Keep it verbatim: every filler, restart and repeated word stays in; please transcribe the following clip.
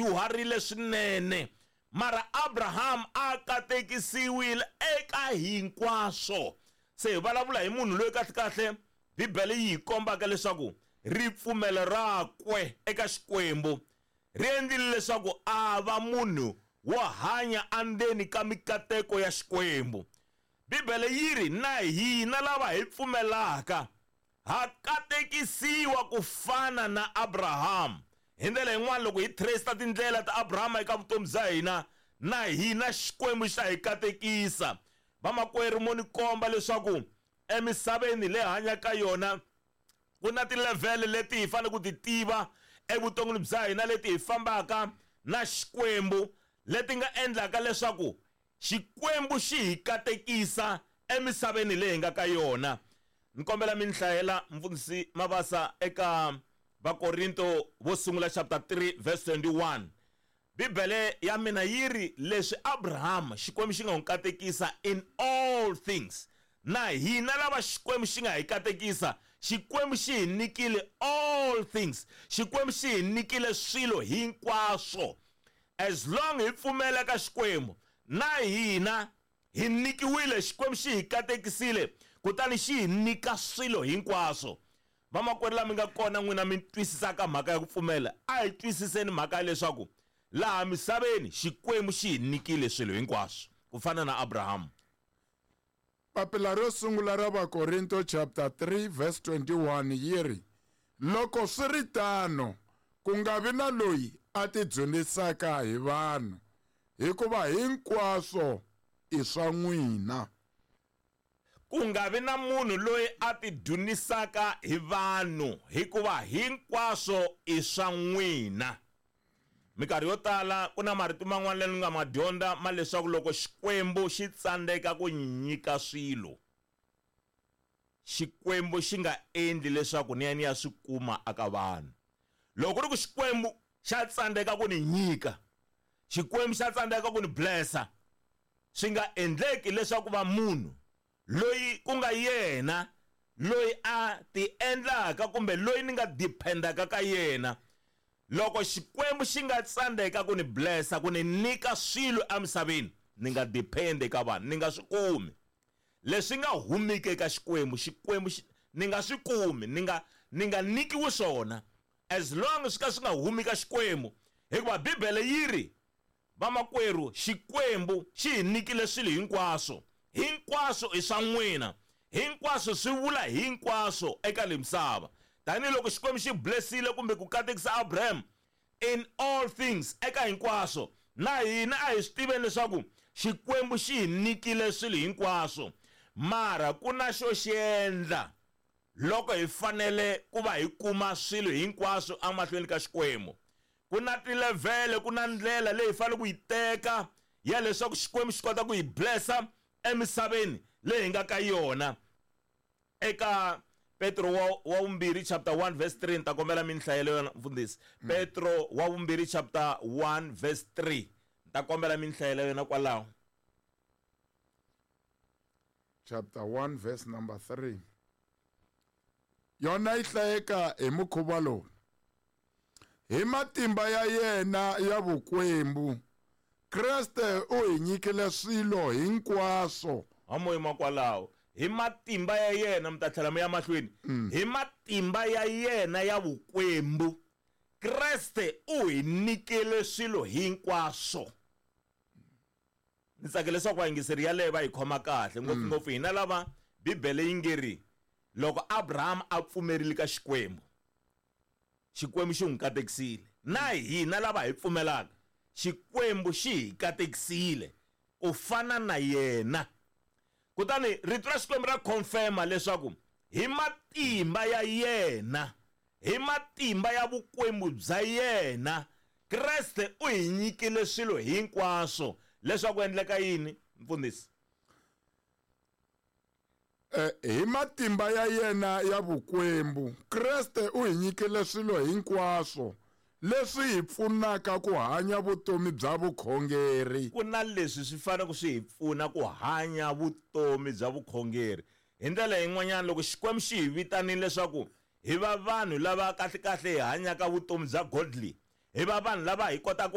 dyuharile swinene mara Abraham a katekisiwile eka hinkwaswo. Se hi vulavula hi munhu loyi kahle kahle Bibele yi hi kombaka leswaku ripfumelo rakwe eka Xikwembu ri endlile leswaku a va munhu wo hanya endzeni ka mikateko ya Xikwembu. Bibele yi ri na hina lava hi pfumelaka ha katekisiwa ku fana na Abraham. Hi ndlela yin'wana loko hi trace tindlela ta Abraham eka vutomi bya hina, na hina Xikwembu xa hi katekisa. Vamakwerhu, mo ni komba leswaku emisaveni leyi hanyaka yona ku na tilevhele leti hi fanele ku ti tiva evuton'wini bya hina, leti hi fambaka na Xikwembu, leti nga endlaka leswaku Xikwembu xi hi katekisa emisaveni leyi hi nga ka yona. Ni kombela mi ni hlayela mfundhisi Mabasa eka Vakorinto vo sungula chapter three verse twenty-one. Bibele ya mina yi ri leswi Abraham Xikwembu xi nga n'wi katekisa in all things, na hina lava Xikwembu xi nga hi katekisa, Xikwembu xi hi nyikile all things, Xikwembu xi hi nyikile swilo hinkwaswo. As long hi pfumela ka Xikwembu, na hina hi nyikiwile, Xikwembu xi hi katekisile, kutani xi hi nyika swilo hinkwaswo. Vamakwerhu lava mi nga kona n'wina mi twisisaka mhaka ya ku pfumela, a hi twisiseni mhaka ya leswaku laha misaveni Xikwembu xi hi nyikile swilo hinkwaswo ku fana na Abraham. Papila ro sungula ra Vakorinto chapter three verse twenty-one yi ri, loko swi ri tano, ku nga vi na loyi a tidzunisaka hi vanhu, hikuva hinkwaswo i swa n'wina. Ku nga vi na munhu loyi a tidzunisaka hi vanhu, hikuva hinkwaswo i swa n'wina. Minkarhi yo tala ku na marito man'wana lama nga ma dyondza ma leswaku loko Xikwembu xi tsandzeka ku nyika swilo, Xikwembu xi nga endli leswaku ni ya ni ya swi kuma aka vanhu. Loko ku ri ku Xikwembu xa tsandzeka ku ni nyika, Xikwembu xa tsandzeka ku ni blessa, swi nga endleki leswaku va munhu loyi ku nga yena loyi a ti endlaka kumbe loyi ni nga dependaka ka yena. Loko Xikwembu xi nga tsandzeka ku ni blessa, ku ni nyika swilo emisaveni, ni nga depend eka vanhu, ni nga swi kumi. Leswi nga humiki eka Xikwembu, Xikwembu xi, ni nga swi kumi, ni nga, ni nga nyikiwi swona, as long swi ka swi nga humi ka Xikwembu. Hikuva Bibele yi ri, vamakwerhu, Xikwembu xi hi nyikile swilo hinkwaswo. Hinkwaswo i swa n'wina. Hinkwaswo swi vula hinkwaswo eka le misava. Tanihiloko Xikwembu xi blessile kumbe ku katekisa Abraham in all things, eka hinkwaswo, na hina a hi swi tiveni leswaku Xikwembu xi hi nyikile swilo hinkwaswo. Mara ku na xo xi endla loko hi fanele ku va hi kuma swilo hinkwaswo emahlweni ka Xikwembu. Ku na tilevhele, ku na ndlela leyi hi fanele ku yi teka ya leswaku Xikwembu xi kota ku hi blessa emisaveni leyi hi nga ka yona. Eka Petro wa, wa vumbirhi chapter one verse three, ni ta kombela mi ni hlayela yona mfundhisi. Mm. Petro wa vumbirhi chapter one verse three, ni ta kombela mi ni hlayela yona kwalaho. Chapter one verse number three. Yona yi hlayeka hi mukhuva lowu: hi matimba ya yena ya vukwembu, Kreste u hi nyikile swilo hinkwaswo. Ha moyima kwalaho. Hi matimba ya yena, mi ta tlhela mi ya mahlweni. Mm. Hi matimba ya yena ya vukwembu, Kreste u hi nyikile swilo hinkwaswo. Ni tsakela leswaku vayingiseri yaleyo va hi khoma kahle, ngopfungopfu hina lava Bibele yi nge ri loko Abraham a pfumerile ka Xikwembu, Xikwembu xi n'wi katekisile. Na hina lava hi pfumelaka, Xikwembu xi hi katekisile ku fana na yena. Kutani rito ra Xikwembu ra confirma leswaku hi matimba ya yena, hi matimba ya vukwembu bya yena, Kreste u hi nyikile swilo hinkwaswo. Leswaku endleka yini, mfundhisi? Eh, hi matimba ya yena ya vukwembu, Kreste u hi nyikile swilo hinkwaswo leswi hi pfunaka ku hanya vutomi bya vukhongeri. Ku na leswi swi fanele swi hi pfuna ku hanya vutomi bya vukhongeri. Hi ndlela yin'wanyana, loko Xikwembu xi hi vitanile leswaku hi va vanhu lava kahle kahle hi hanyaka vutomi bya godly, hi va vanhu lava hi kotaka ku